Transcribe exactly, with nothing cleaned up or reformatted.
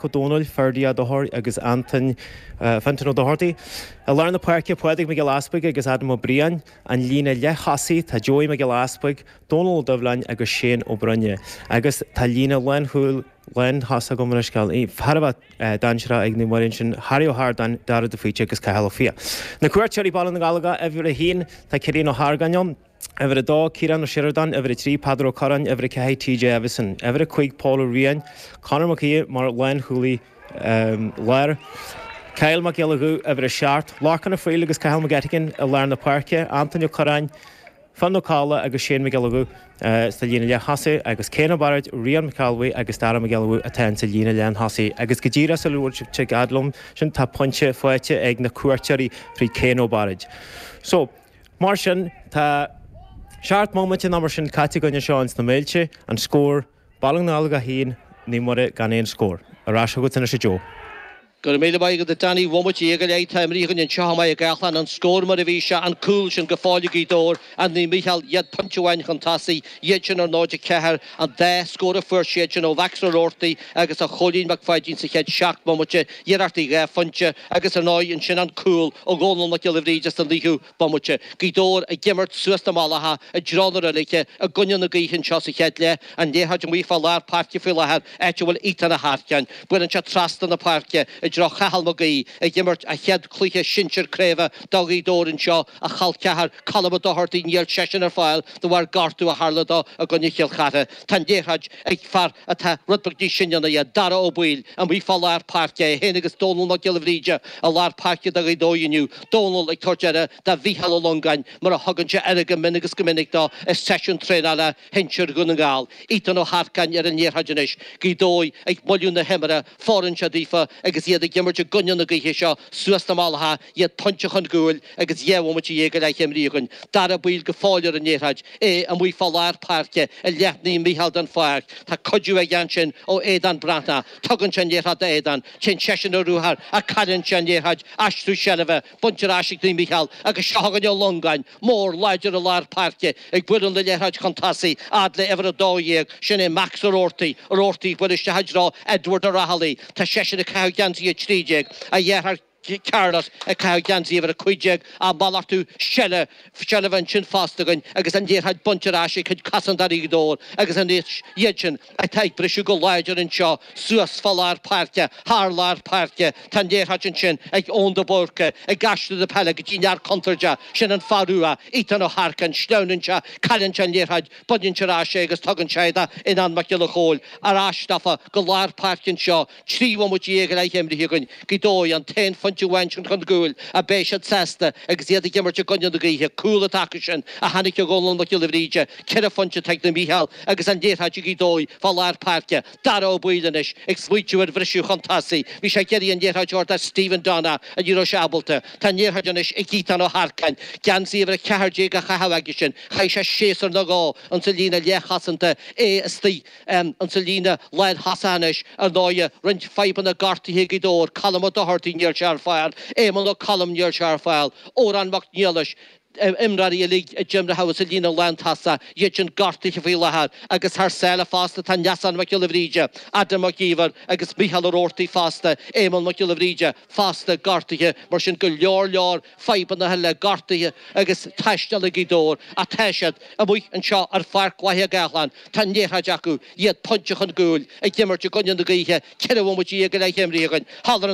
Ó Dónaill, Ferdia Ó Dochartaigh agus Anton Fintan Ó Dochartaigh. I lár na páirce Pádraig Mac Giolla Easpaig agus Adam Ó Briain, an líne leath-thosaigh tá Joey Mac Giolla Easpaig, Dónal Ó Doibhleáin agus Shane Ó Broinne. Agus tá líne lánchúil lántosach agam anois thar a bheith dainséarach ag Naomh Muire ansin, Harry Ó hArdáin, Dara de Faoite agus Cathal Ó Fiaich. Na cuairteoirí Baile na nGallóglach uimhir a haon tá Cillian Ó hArgáin ann. Uimhir a dó Ciarán Ó Sioradáin, uimhir a trí Peadar Ó Curráin, uimhir a ceathair TJ Evison, uimhir a cúig Paul Ó Riain, Conor Mac Aoidh mar lánchúlaí um, láir. Kyle Mac Giolla Dhubh uimhir a seacht, Lorcan Ó Frighil agus Cathal McGettigan i lár na páirce, Anton Ó Curráin, Finn Ó Cadhla agus Shane Mac Giolla Dhubh uh, sa líne leath-thosaigh agus Céan Barrett, Rian McAlway agus Dara Mac Giolla Dhubh atá sa líne leath-thosaigh. Agus go díreach sa luath sin tá pointe faighte ag na cuairteoirí trí Céan Ó Barrett. So, mar sin tá seacht mbomaite nó mar sin caite againn anseo sna Méilte an scór Baile na nGallóglach a haon Naomh Muire gan aon scór. Ar ais chugat anois a Joe. Go raibh míle maith agat Danny bhomaite go leith atá imeartha againn anseo i Maigh Gallán an scór mar a bhí sé an cúl sin go fóill Gaoth Dobhair an Naomh Mícheál iad pointe amháin chun tosaigh iad sin ar náid a ceathair an dá scór a fuair siad sin ó Mhax Ó Roarty agus ó Chóilín Mac Pháidín sa chéad seacht mbomaite iarrachtaí dhá phointe agus ar ndóigh ansin an cúl ó Dhónal Mac Giolla Bhríde sa naoú bomaite. Gaoth Dobhair ag imirt suas na mallacha i dtreo na reilige i gcoinne na gaoithe anseo sa chéad leath an liathróid amuigh fá lár páirce faoi láthair áit a bhfuil Ethan Ó hEarcáin. Buaileann sé trasna na páirce i dtreo Chathal Mac Aoidh ag imirt a chéad chluiche sinsir craoibhe do Ghaoth Dobhair anseo a chol ceathar Colm Ó Dochartaigh níl seisean ar fáil de bharr gortú a tharla dó i gcoinne Chill Chartha. Tá an liathróid ag fear atá rud beag níos sine ná é Dara Ó Baoill amuigh fá lár páirce é féin agus Dónal Mac Giolla Bhríde i lár páirce do Ghaoth Dobhair inniu. Dónal ag tabhairt aire do Mhícheál Ó Longáin mar a thugann sé aire go mion agus go minic dó i seisiún traenála shinsir Dhún na nGall. Ethan Ó hEarcáin ar an liathróid anois, Gaoth Dobhair ag moilliú na himeartha fóireann seo daofa agus iad ag imirt i gcoinne na gaoithe seo suas na mallacha iad pointe chun cúil agus dhá bhomaite dhéag go leith imeartha againn. Dara Baoill go fóill ar an liathróid é amuigh fá lár páirce i leith Naomh Mícheál den pháirc. Tá cuidiú aige ansin ó Aodán Breathnach, tugann sé an liathróid d'Aodán, téann seisean ar ruathar ach cailleann sé an liathróid aistriú seilbhe, bainte ar ais ag Naomh Mícheál agus seo chugainn Ó Longáin, mór láidir i lár páirce ag bualadh na liathróid chun tosaigh fhad le uimhir a dó dhéag, sin é Max Ó Roarty, Ó Roarty buail isteach i dtreo Edward Ó Raghallaigh, tá seisean ag caitheamh geansaí a trí déag, a dheartháir Carlos ag caitheamh geansaí uimhir a cúig déag á malartú seilbhe seilbhe ansin fosta againn agus an liathróid bainte ar ais ag cuid cosantóirí Ghaoth Dobhair agus anois iad sin atá ag briseadh go láidir anseo suas fá lár páirce thar lár páirce tá an liathróid ansin ag Eoin de Búrca ag aistriú na peile go dtí an fhear contúirteach sin an fear rua Ethan Ó hEarcáin sleamhnann sé cailleann sé an liathróid baineann sé ar ais é agus tugann sé do Fhionán Mac Giolla Chóill ar ais daofa go lár páirce anseo trí bhomaite dhéag go leith imeartha againn Gaoth Dobhair an t-aon phointe amháin sin chun cúil a beidh siad sásta agus iad ag imirt i gcoinne na gaoithe cúl atá acu sin a tháinig ó Dhónal Mac Giolla Bhríde ceithre phointe ag Naomh Mícheál agus an liathróid ag Gaoth Dobhair fá lár páirce Dara Ó Baoill anois ag smaointiú ar bhriseadh chun tosaigh bhí sé ag iarraidh an liathróid a thabhairt do Stephen Donna a ní raibh sé ábalta Tá an liathróid anois ag Ethan Ó hEarcáin geansaí uimhir a ceathair déag á chaitheamh aige sin chaith sé séasúr nó dhó an sa líne leathchosanta é istigh um, an sa líne lántosaithe anois ar ndóigh roinnt fadhbanna gortaithe Gaoth Dobhair Colm Ó Dochartaigh níl sé ar fáil Éamonn Ó Colm níl sé ar fáil Órán Mac Niallais imreoirí uilig a d'imir sa líne lántosach iad sin gortaithe faoi láthair agus thar sáile fosta tá Neasán Mac Giolla Bhríde, Adam Mac Íomhair agus Micheál Ó Roarty fosta, Éamonn Mac Giolla Bhríde fosta gortaithe mar sin go leor leor fadhbanna le gortaithe agus taisteal ag Gaoth Dobhair ach tá siad amuigh anseo ar Pháirc Mhaighe Gathlán Tá an liathróid acu iad pointe chun cúil ag imirt i gcoinne na gaoithe ceithre bhomaite go leith imeartha againn. Thall ar an